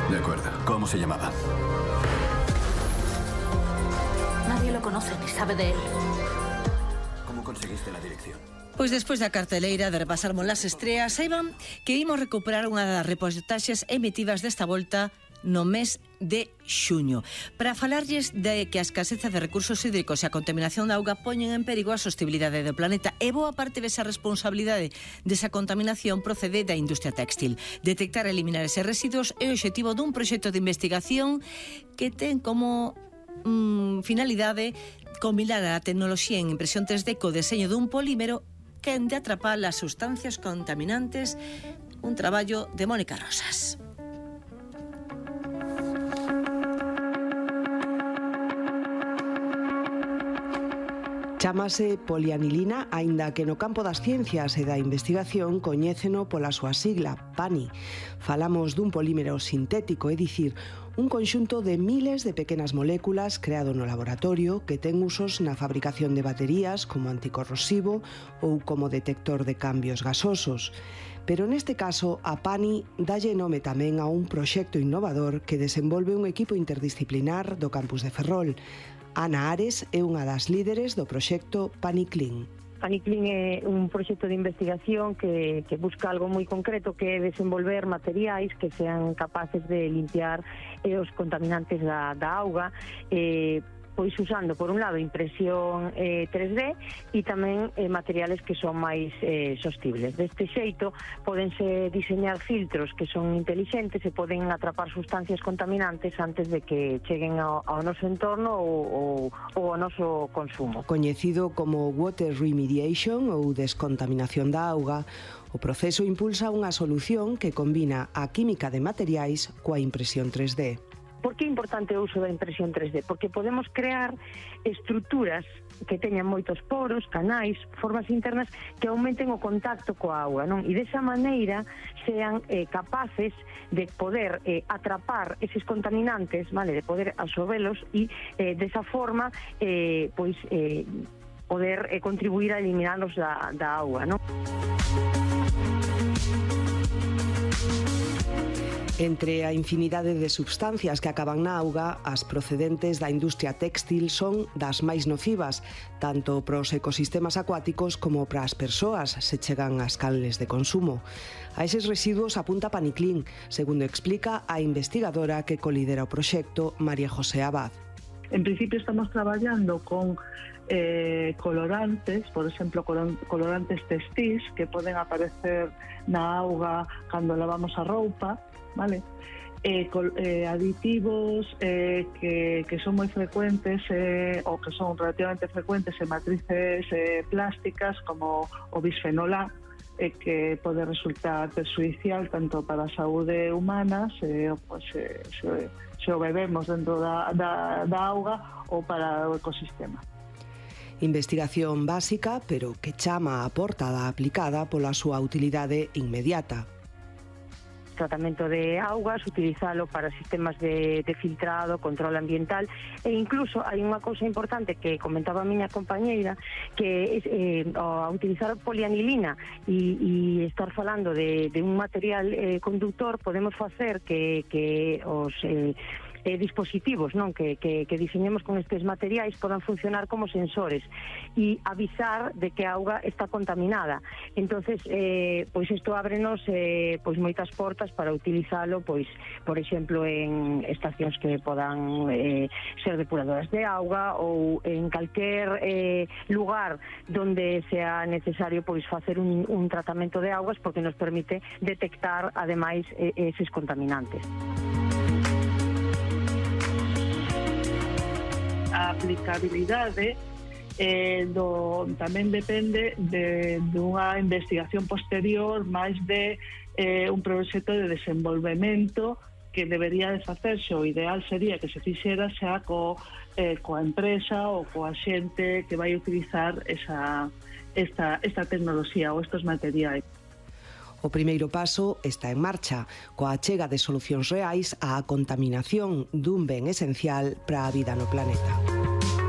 De acuerdo. ¿Cómo se llamaba? Nadie lo conoce ni sabe de él. ¿Cómo conseguiste la dirección? Pois despois da carteleira de repasarmos las estreas, saiban que imos recuperar unha das reportaxes emitidas desta volta no mes de xuño, para falarlles de que a escaseza de recursos hídricos e a contaminación da auga poñen en perigo a sostibilidade do planeta, e boa parte desa responsabilidade desa contaminación procede da industria téxtil. Detectar e eliminar eses residuos é o obxectivo dun proxecto de investigación que ten como finalidade combinar a tecnoloxía en impresión 3D co deseño dun polímero que han de atrapar as sustancias contaminantes, un traballo de Mónica Rosas. Chámase polianilina, aínda que no campo das ciencias e da investigación coñéceno pola súa sigla, PANI. Falamos dun polímero sintético, é dicir, un conxunto de miles de pequenas moléculas creado no laboratorio que ten usos na fabricación de baterías como anticorrosivo ou como detector de cambios gasosos. Pero neste caso, a PANI dalle nome tamén a un proxecto innovador que desenvolve un equipo interdisciplinar do campus de Ferrol. Ana Ares é unha das líderes do proxecto PANICLIN. PANICLIN é un proxecto de investigación que busca algo moi concreto, que é desenvolver materiais que sean capaces de limpiar os contaminantes da auga, pois usando, por un lado, impresión 3D e tamén materiales que son máis sostibles. Deste xeito, podense diseñar filtros que son inteligentes e poden atrapar sustancias contaminantes antes de que cheguen ao noso entorno ou ao noso consumo. Coñecido como water remediation ou descontaminación da auga, o proceso impulsa unha solución que combina a química de materiais coa impresión 3D. Por que é importante o uso da impresión 3D? Porque podemos crear estruturas que teñan moitos poros, canais, formas internas que aumenten o contacto coa auga, non? E desa maneira sean capaces de poder atrapar eses contaminantes, vale, de poder absorbelos e desa forma poder contribuir a eliminarlos da auga, non? Entre a infinidade de substancias que acaban na auga, as procedentes da industria téxtil son das máis nocivas, tanto para os ecosistemas acuáticos como para as persoas se chegan ás canles de consumo. A eses residuos apunta PANICLIN, segundo explica a investigadora que colidera o proxecto, María José Abad. En principio estamos traballando con colorantes, por exemplo, colorantes textís que poden aparecer na auga cando lavamos a roupa, vale? Aditivos que son moi frecuentes ou que son relativamente frecuentes en matrices plásticas como o bisfenol A, que pode resultar perxudicial tanto para a saúde humana se o bebemos dentro da auga ou para o ecosistema. Investigación básica, pero que chama a porta da aplicada pola súa utilidade inmediata. Tratamento de augas, utilizalo para sistemas de filtrado, control ambiental, e incluso hai unha cousa importante que comentaba a miña compañeira, que ao utilizar polianilina e estar falando de un material conductor, podemos facer que os dispositivos, non, que diseñemos con estes materiais podan funcionar como sensores e avisar de que a auga está contaminada. Entonces, pois isto ábrenos pois moitas portas para utilizalo, pois, por exemplo, en estacións que podan ser depuradoras de auga ou en calquer lugar donde sea necesario pois facer un tratamento de augas, porque nos permite detectar ademais eses contaminantes. A aplicabilidade tamén depende dunha investigación posterior máis de un proxecto de desenvolvemento que debería de facerse. O ideal sería que se fixera xa coa empresa ou coa xente que vai utilizar esta tecnoloxía ou estes materiais. O primeiro paso está en marcha, coa achega de solucións reais á contaminación dun ben esencial para a vida no planeta.